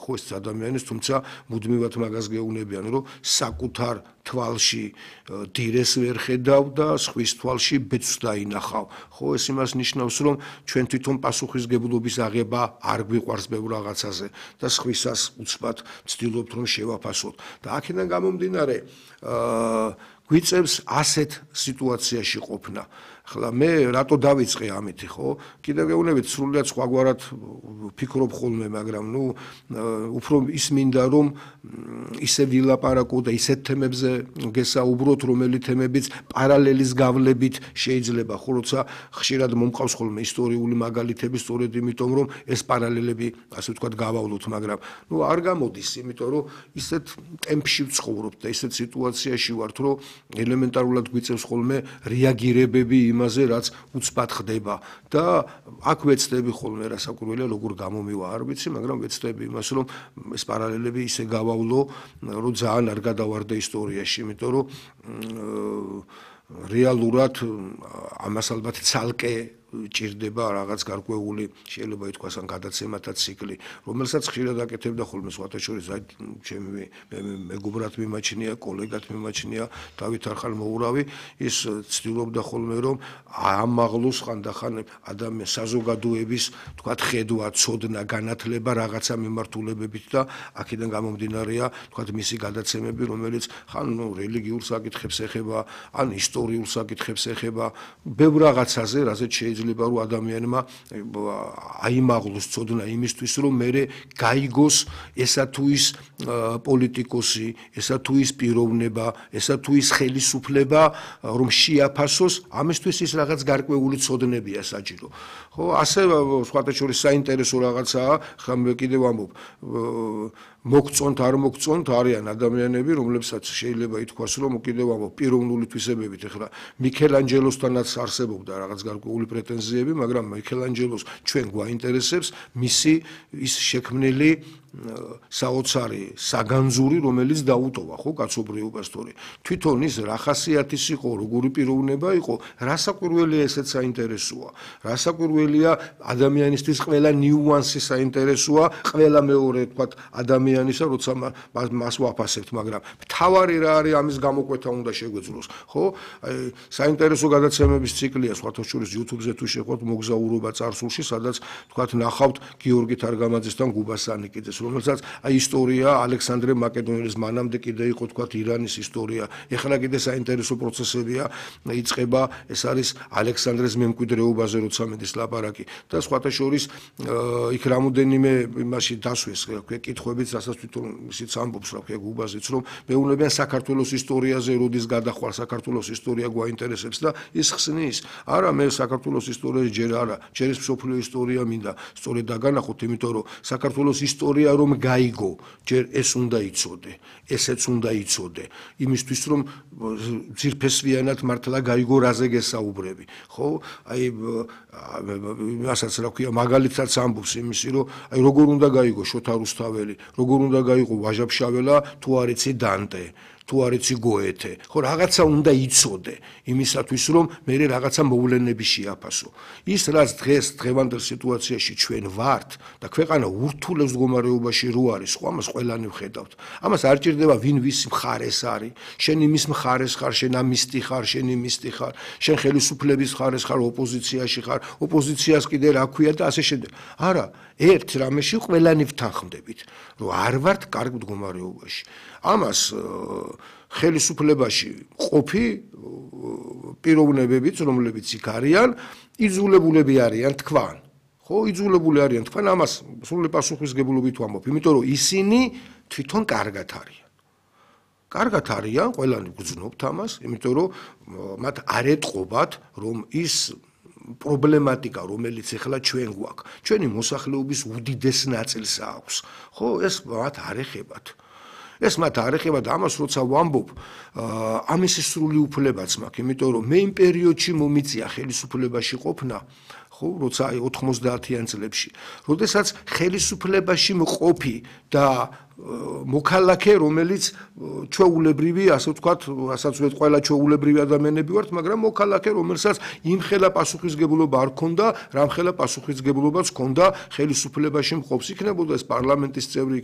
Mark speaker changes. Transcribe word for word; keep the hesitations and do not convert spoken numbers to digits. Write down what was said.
Speaker 1: ხო ეს ადამიანის, თუმცა მუდმივად მაგას გეუბნებიან, რომ საკუთარ თვალში დირეს ვერ ხედავ და სხვის თვალში ბეწვს დაინახავ. ხო ეს იმას ნიშნავს, რომ ჩვენ თვითონ პასუხისგებლობის აღება არ გვიყვარს ბევრ რაღაცაზე და სხვისას უცბად ვცდილობთ რომ შევაფასოთ. და აქედან გამომდინარე, აა გვიწევს ასეთ სიტუაციაში ყოფნა. ახლა მე რატო დავიწყე ამითი, ხო? კიდევ გეუბნებით, სრულიად სხვაგვარად ვფიქრობ ხოლმე, მაგრამ ნუ უფრო ის მინდა რომ ისე ვილაპარაკო და ისეთ თემებზე გესაუბროთ, რომელი თემებიც პარალელის გავლებით შეიძლება, ხო, როცა ხშირად მომყავს ხოლმე ისტორიული მაგალითები, სწორედ იმიტომ რომ ეს პარალელები, ასე ვთქვათ, გავავლოთ, მაგრამ ნუ არ გამოდის, იმიტომ რომ ისეთ ტემპში ვცხოვრობთ და ისეთ სიტუაციაში ვართ, რომ ელემენტარულად გვიწევს ხოლმე რეაგირებები იმაზე, რაც უცბად ხდება და აქ ვეცდები ხოლმე რასაკვირველია, როგორ გამომივა არ ვიცი, მაგრამ ვეცდები იმას, რომ ეს პარალელები ისე გავავლო, რომ ძალიან არ გადავარდე ისტორიაში, იმიტომ რომ რეალურად ამას ალბათ ცალკე ჭირდება რაღაც გარკვეული, შეიძლება ითქვას, ან გადაცემათა ციკლი, რომელსაც ხშირად აკეთებდა ხოლმე სხვათა შორის ჩემი მეგობრად მიმაჩნია, კოლეგად მიმაჩნია დავით არხალმოურავი, ის ცდილობდა ხოლმე რომ ამაღლოს ხანდახან ადამიანის საზოგადოების, თქვათ, ხედვა, ცოდნა, განათლება რაღაცა მიმართულებებით და აქედან გამომდინარეა, თქვათ, მისი გადაცემები, რომელიც ხან რელიგიურ საკითხებს ეხება, ან ისტორიულ საკითხებს ეხება, ბევრ რაღაცაზე, რაზეც შეიძლება რომ ადამიანმა აიმაღლოს ცოდნა იმისთვის, რომ მერე გაიგოს ესა თუ ის პოლიტიკოსი, ესა თუ ის პიროვნება, ესა თუ ის ხელისუფლება, რომ შეაფასოს, ამისთვის ის რაღაც გარკვეული ცოდნებია საჭირო. ხო, ასე სხვათა შორის საინტერესო რაღაცაა, ხა მე კიდევ ამბობ, მოგწონთ არ მოგწონთ არიან ადამიანები, რომლებსაც შეიძლება ითქვას, რომ კიდევ ამბობ პიროვნული თვისებებით, ეხლა მიქელანჯელოსთანაც არსებობდა რაღაც გარკვეული პრეტენზიები, მაგრამ მიქელანჯელოს ჩვენ გვაინტერესებს მისი ის შექმნილი საოცარი საგანძური, რომელიც დაუტოვა, ხო, კაცობრიობას თორე. თვითონ ის რა ხასიათის იყო, როგორი პიროვნება იყო, რასაკვირველია ესეც საინტერესოა. რასაკვირველია ადამიანისთვის ყველა ნიუანსი საინტერესოა, ყველა მეორე, თქვათ, ადამიანისა, როცა მას ვაფასებთ, მაგრამ მთავარი რა არის ამის გამოკვეთა უნდა შეგვეძლოს, ხო? აი, საინტერესო გადაცემების ციკლია, სხვათა შორის YouTube-ზე თუ შეხვდეთ მოგზაურობა წარსულში, სადაც, თქვათ, ნახავთ გიორგი თარგამაძესთან გუბასანიკიძეს, რომელსაც აი ისტორია ალექსანდრე მაკედონელის მანამდე კიდე იყო, თქვათ, ირანის ისტორია. ეხლა კიდე საინტერესო პროცესებია, იწყება, ეს არის ალექსანდრეს მემკვიდრეობაზე, როცა მედის ლაპარაკი და სხვათა შორის იქ რამოდენიმე იმაში დასვეს, ქვე კითხვებიც, რასაც თვითონ ისიც ამბობს, რა ქვია, გუბაზიც, რომ მეუბნებიან საქართველოს ისტორიაზე, როდის გადახვალ საქართველოს ისტორია გვაინტერესებს და ის ხსნის. არა, მე საქართველოს ისტორიაში ჯერ არა, ჯერ ის მსოფლიო ისტორია მინდა სწორედ დაგანახოთ, იმიტომ რომ საქართველოს ისტორია რომ გაიგო, ჯერ ეს უნდა იცოდე, ესეც უნდა იცოდე, იმისთვის რომ ძირფესვიანად მართლა გაიგო რაზე გესაუბრები, ხო? აი რასაც რა ქვია, მაგალითად ამბობს იმისი, რომ აი როგორ უნდა გაიგო შოთა რუსთაველი, როგორ უნდა გაიგო ვაჟა-ფშაველა, თუ არ იცი დანტე, თუ არ იცი გოეთე, ხო, რაღაცა უნდა იცოდე იმისათვის, რომ მე რაღაცა მოვლენები შეაფასო. ის რაც დღეს დღევანდელ სიტუაციაში ჩვენ ვართ და ქვეყანა ურთულეს მდგომარეობაში რო არის, ხო, ამას ყველანი ვხედავთ. ამას არ ჭირდება ვინ ვის მხარეს არის, შენ იმის მხარეს ხარ, შენ ამისტი ხარ, შენ იმისტი ხარ, შენ ხელისუფლების მხარეს ხარ, ოპოზიციაში ხარ, ოპოზიციას კიდე რა ქვია და ასე შემდეგ. არა, ერთ რამეში ყველანი ვთანხმდებით, რომ არ ვართ კარგ მდგომარეობაში. ამას ხელისუფლებაში ყოფი პიროვნებებიც, რომლებიც იქ არიან, იძულებულები არიან თქვან. ხო, იძულებული არიან თქვენ, ამას სრული პასუხისგებლობით ვამბობ, იმიტომ რომ ისინი თვითონ კარგად არიან. კარგად არიან, ყველანი გვგრძნობთ ამას, იმიტომ რომ მათ არ ეტყობათ, რომ ის პრობლემატიკა, რომელიც ახლა ჩვენ გვაქვს, ჩვენი მოსახლეობის უდიდეს ნაწილს აქვს. ხო, ეს მათ არ ეხებათ. ეს მათ არ ეხება და ამას როცა ვამბობ, ამის სრული უფლებაც მაქვს, იმიტომ რომ მე იმ პერიოდში მომიწია ხელისუფლებაში ყოფნა, ხო, როცა აი ოთხმოცდაათიან წლებში, როდესაც ხელისუფლებაში მყოფი და მოქალაქე, რომელიც ჩვეულებრივი, ასე ვთქვათ, რასაც ვეთ ყველა ჩვეულებრივი ადამიანები ვართ, მაგრამ მოქალაქე, რომელსაც იმხელა პასუხისგებლობა არ ქონდა, რამხელა პასუხისგებლობაც ქონდა ხელისუფლებაში მყოფს. იქნებოდა ეს პარლამენტის წევრი,